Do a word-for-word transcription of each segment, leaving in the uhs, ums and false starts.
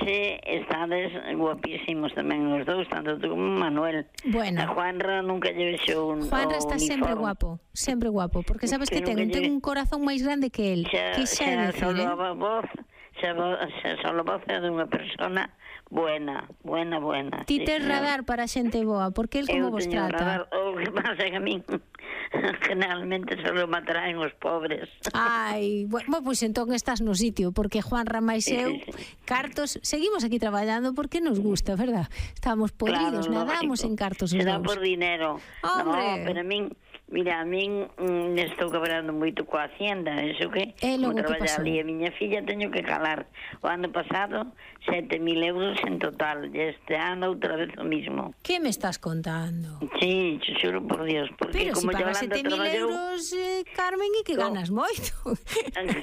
ese estades guapísimos tamén os dous, tanto tú como Manuel. Bueno. A Juanra nunca lle vexo un Juanra está sempre guapo, sempre guapo, porque sabes que, que ten, ten un corazón máis grande que el. Xa, que xa, xa decir, solo eh? a voz, xa, xa solo a voz é dunha persona buena, buena, buena. Ti sí, tes radar para xente boa, porque el como eu vos teño trata? Radar, o que pasa é que a min generalmente solo me atraen os pobres. Ai, bueno, pois pues entón estás no sitio, porque Juan Ramais e eu, sí, sí, sí. cartos, seguimos aquí traballando porque nos gusta, verdad? Estamos podridos, claro, nadamos lógico. En cartos os será dous. Por dinero. Hombre. No, pero a min, mira, a min mm, estou cabrando moito coa hacienda, eso que, é logo como que pasou. Ali a miña filla teño que calar. O ano pasado, sete mil euros en total, e este ano outra vez o mismo. Que me estás contando? Sí, te xuro por Dios, porque pero como si pagas sete mil euros, eh, Carmen, e que no. ganas moito.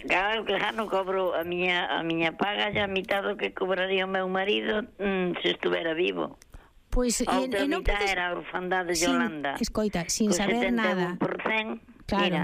Claro que já non cobro a miña, a miña paga, ya a mitad do que cobraría o meu marido mm, se estuvera vivo. Pois pues, outra e, e mitad podes... era a orfandade de sin, Yolanda. Escoita, sin saber nada. setenta e un por cento, claro. Mira,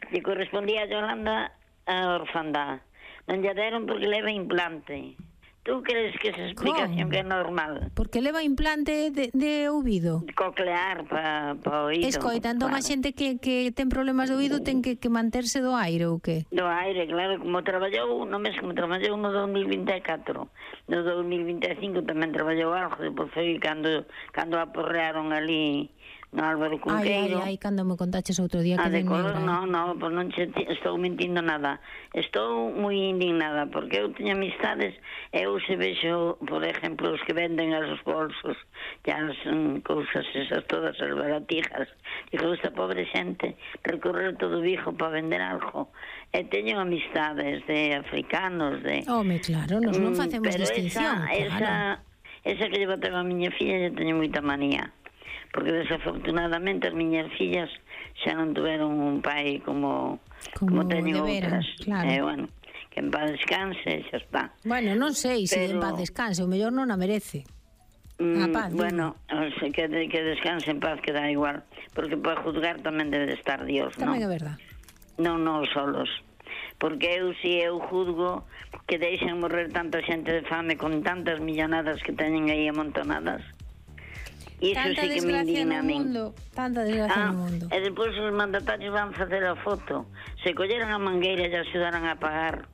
lle correspondía a Yolanda a orfandade. Non lle deron porque leva implante. Tú crees que esa explicación ¿Cómo? Que é normal? Porque leva implante de, de ouvido. Coclear para pa oído. Escoita, entón claro. A xente que, que ten problemas de ouído ten que, que manterse do aire ou que? Do aire, claro, como traballou no mes como traballou no dos mil vinte e catro. No dos mil vinte e cinco tamén traballou algo, depois foi cando, cando aporrearon ali no Álvaro Cunqueiro. Ai, ai, ai, cando me contaches outro día que de color, negra. non, non, pois non che estou mentindo nada. Estou moi indignada, porque eu teño amistades, eu se vexo, por exemplo, os que venden as bolsos, e as um, cousas esas todas, as baratijas, digo, esta pobre xente recorrer todo Vigo para vender algo. E teño amistades de africanos, de... Home, claro, nos non facemos pero distinción, esa, claro. Esa, esa que lle botaba a miña filla, lle teño moita manía. Porque desafortunadamente as miñas fillas xa non tuveron un pai como como, como teñen outras. Claro. Eh, bueno, que en paz descanse, xa está. Bueno, non sei se Pero... en paz descanse, o mellor non a merece. Mm, a paz, bueno, que, que descanse en paz que dá igual, porque para juzgar tamén debe de estar Dios, non? Tamén é verdad. Non, non solos. Porque eu, si eu juzgo que deixen morrer tanta xente de fame con tantas millonadas que teñen aí amontonadas, Iso tanta sí que me indigna a min. Tanta desgracia ah, no mundo. E depois os mandatarios van facer a foto. Se colleran a mangueira e axudaran a pagar.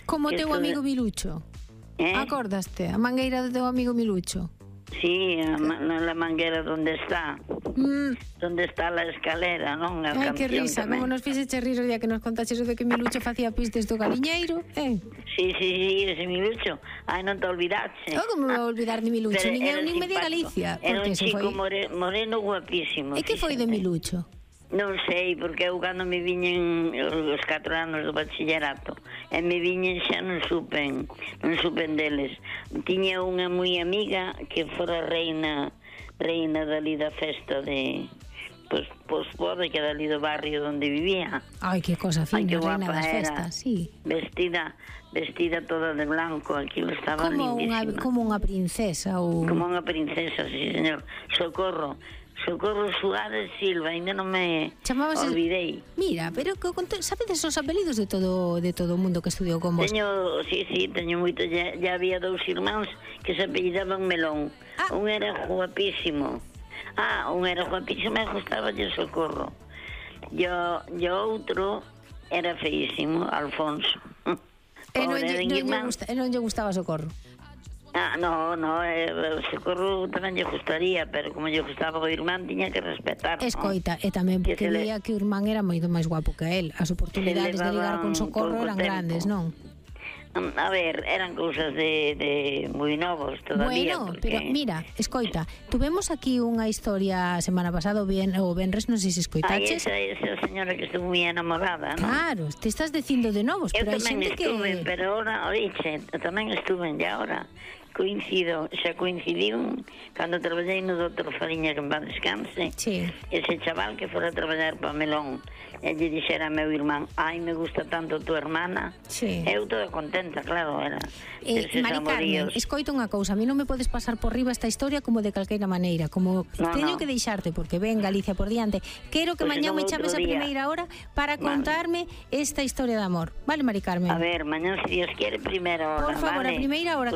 Como teu amigo de... Milucho. Eh? Acordaste? A mangueira do teu amigo Milucho. Sí, a, na la manguera donde está. Mm. Donde está la escalera, non? A Ai, que risa, tamén. como nos fixeche rir o día que nos contaches o de que Milucho facía pistes do galiñeiro, eh? Sí, sí, sí, ese Milucho. Ai, non te olvidaste. Oh, como me vou olvidar de Milucho? Nin eu, nin me de Galicia. Era un chico foi... more, moreno guapísimo. E que foi de Milucho? Non sei, porque eu cando me viñen os catro anos do bachillerato e me viñen xa non supen non supen deles. Tiña unha moi amiga que fora reina reina dali da festa de pois, pois pode que dali do barrio onde vivía. Ai, que cosa fina, Ay, reina das festas, sí. Vestida vestida toda de blanco, aquilo estaba como lindísima. Unha, como unha princesa ou... Como unha princesa, sí, señor. Socorro. Socorro Suárez Silva, ainda non me Chamábase... olvidei. Mira, pero sabedes os apelidos de todo de todo o mundo que estudiou con vos? Teño, sí, sí, teño moito, ya, ya había dous irmáns que se apellidaban Melón. Ah. Un era guapísimo. Ah, un era guapísimo e gustaba de Socorro. Yo, yo outro era feísimo, Alfonso. E non, lle, non, lle gusta, e non lle gustaba Socorro? Ah, no, no, eh, Socorro tamén lle gustaría, pero como lle gustaba o irmán, tiña que respetar. Escoita, ¿no? E tamén porque veía le... que o irmán era moito máis guapo que él. As oportunidades de ligar con Socorro eran tempo. Grandes, non? A ver, eran cousas de, de moi novos todavía. Bueno, porque... pero mira, escoita, tuvemos aquí unha historia a semana pasada, o, bien, o Benres, non sei se escoitaches. Ai, esa, esa señora que estuvo moi enamorada, non? Claro, te estás dicindo de novos, eu pero hai xente que... Eu tamén estuve, pero ahora, oiche, tamén estuve, e ahora coincido, xa coincidiu cando traballei no doutor Fariña, que en paz descanse, sí. Ese chaval que fora a traballar para Melón, e lle dixera a meu irmán, ai, me gusta tanto tu hermana, sí. Eu toda contenta, claro, era eh, Mari Carmen, escoito unha cousa, a mí non me podes pasar por riba esta historia como de calqueira maneira, como no, teño no. que deixarte, porque ven Galicia por diante, quero que pues mañá me chames a primeira hora para contarme vale. Esta historia de amor, vale, Mari Carmen? A ver, mañá, se Dios quiere, primeira hora, por favor, vale? a primeira hora,